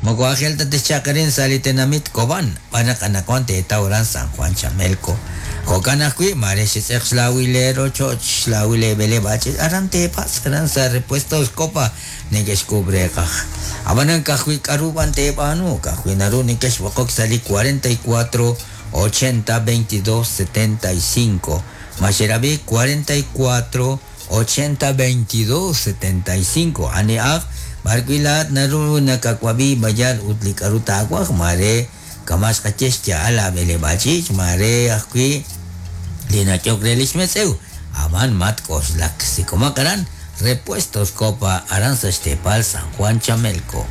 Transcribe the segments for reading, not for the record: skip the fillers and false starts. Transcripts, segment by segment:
Moko aajel ta texchalq arin sa' li tenamit Cobán, b'an naq anaqwan teetaw aran San Juan Chamelco. Jo'kan ajwi', maare xetz'eq xlaawil leerochoch, xlaawil leeb'eleb'aal ch'iich', aran teepatz', aran sa' Repuestos Copa neke'xk'uub' reeqaj. Ab'anan ka'ajwi' k'aru b'an teeb'aanu, ka'ajwi' naru nekexb'oqok sa' li 44 80 22 75. Ma xerab'i 44 80 22 75. Anihaq, b'arwi' laa'at naru nakawab'i b'ayal ut li k'aru taawaj, maare kama' xqaye xya'al laab'eleb'aal ch'iich', maare ajwi' li nach'ok re li xmetz'ew. Ab'an matk'oxlak, sik'omaq aran Repuestos Copa aran sa' xteepal San Juan Chamelco.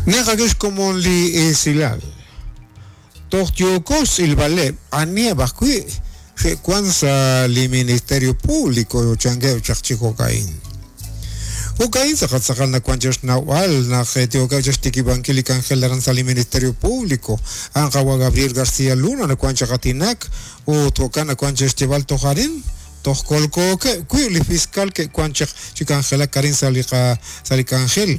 Naqak'e xkomon li esilal. Toj yooko xtz'ilb'aleb' aniheb' ajwi' xe'wan sa' li Ministerio Público chankeb' chaq chi jo'ka'in. Jo'ka'in tz'aqal tz'aqal nawan chaq xnawb'al naq yookeb' chaq xtikib'ankil li k'anjel aran sa' li Ministerio Público. A'an qawa' Gabriel García Luna nawan chaq aatinak ut jo'kan nawan chaq xyeeb'al toj arin Toj kolkookeb' wi' li fiscal ke'wan chaq chi k'anjelak arin sa' li qa sa' li k'anjel.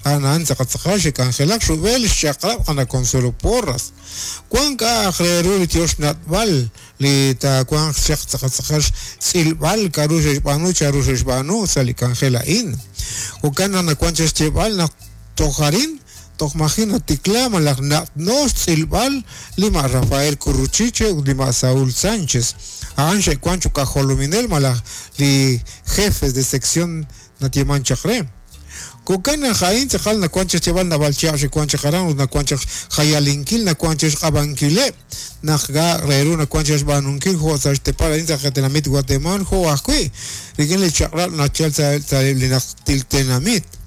A'an a'an tz'aqal tz'aqal xe'k'anjelak rub'el xchaq'rab' qana Consuelo Porras. Wan k'a'aq re ru li tyox nat'b'al li taawanq chaq tz'aqal tz'aqal xtz'ilb'al k'a'ru xe'xb'aanu chanru xe'xb'aanu sa' li k'anjel a'in. Jo'kan naq nawan chaq xyeeb'al naq toj arin toj maji' natikla malaj na'tno xtz'ilb'al li ma' Rafael Curruchiche ut li ma' Saúl Sánchez. A'an xe'wan choq' aj jolominel malaj li jefes de sección nayeeman chaq re. Jo'kan naq a'in tz'aqal nawan chaq xyeeb'al naab'al chihab' xe'wan chaq aran ut nawan chaq xjayalinkil, nawan chaq xq'ab'ankileb' naq k'a'aq re ru nawan chaq xb'aanunkil jo' sa' xteepal a'in sa' qatenamit Watemaal jo' ajwi' rik'in li chaq'rab' nachal sa' li najtil tenamit.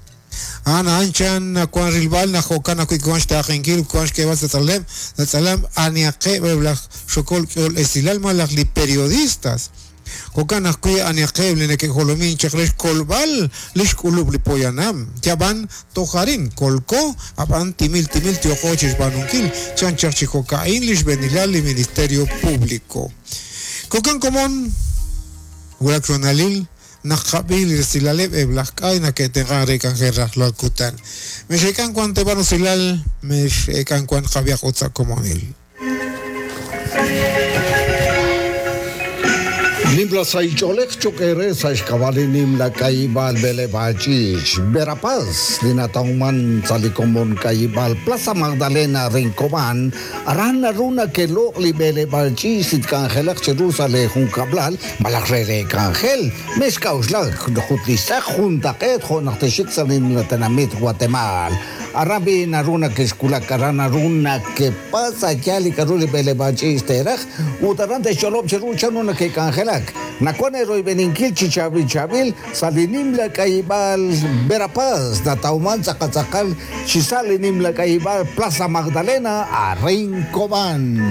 A'an a'an chan nawank rilb'al naq jo'kan ajwi' wank xtaaqenkil ut wank xk'eeb'al sa' tz'alameb' sa' tz'alam anihaqeb' eb' laj xokol k'ehol esilal malaj li periodistas. Jo'kan ajwi' anihaqeb' li neke'jolomink chaq re xkolb'al li xk'ulub' li poyanam. Yab'an toj arin kolko, ab'an timil timil yooqo chi xb'aanunkil, chan chaq chi jo'ka'in li xb'eenilal li Ministerio Público. Jo'kan komon, wulak xhoonalil Naq qab'i li resilaleb' eb' laj k'ay nake'tenq'an re k'anjel rajlal kutan. Mex'eek'an wan teeb'an usilal, mex'eek'an wan qab'ihaq ut sa' komonil. Nimla sahil ch'oolej cho'q eere sa' xk'ab'a' li nimla k'ayib'aal b'eleb'aal ch'iich' Verapaz li natawman sa' li komon k'ayib'aal Plaza Magdalena Rincobán Aran naru nake'loq' li b'eleb'aal ch'iich' li tk'anjelaq cheru sa' lee junkab'lal malaj re lee k'anjel. Mexk'a'uxlak ut li xtz'aq juntaq'eet jo' naq texxik sa' li nimla tenamit Guatemaal. Aran b'i' naru nakexwulak, aran naru nakepatz' a' yaal li k'a'ru li b'eleb'aal ch'iich' teeraj ut aran te'xch'olob' cheru chanru nake'k'anjelak. Nawank eeroyb'eninkil chi chaab'il chaab'il sa' li nimla k'ayib'aal Verapaz natawman tz'aqal tz'aqal Chi sa' li nimla k'ayib'aal Plaza Magdalena arin Cobán.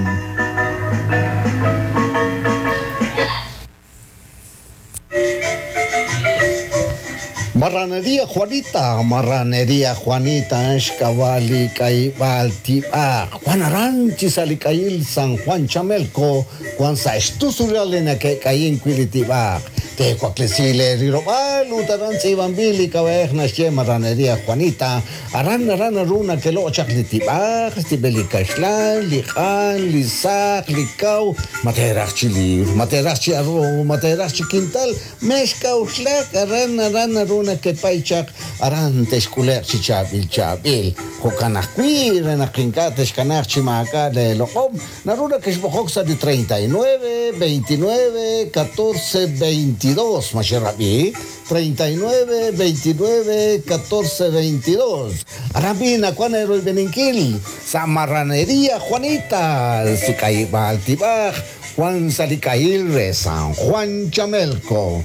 Marraneria Juanita, Marraneria Juanita a'an xk'ab'a' li k'ayib'aal tib'aq. Wan aran chi sa' li k'ayil San Juan Chamelco, wan sa' xtusulal li nake'k'ayink wi' li tib'aq. Teewaklesi lee rilob'aal ut aran tz'iib'anb'il li k'ab'a'ej naxye Marraneria Juanita. Aran aran naru nakeloq' chaq li tib'aq, xtib'el li kaxlan, li q'an, li saq, li kaw, ma teeraj chi liwr, ma teeraj chi arroz, ma teeraj chi kintal, mexk'a'uxlak, aran aran naru nakepay chaq, aran texk'ule'q chi chaab'il chaab'il. Jo'kan ajwi' re naq ink'a' texkanaaq chi maak'a' leeloq'om, Naru nakexb'oqok sa' li 39, 29, 14, 22. Ma xerab'i? 39, 29, 14, 22. Aran b'i' nawank eeroyb'eninkil sa' Marraneria Juanita, si k'ayib'aal tib'aj, wank sa' li k'ayil re San Juan Chamelco.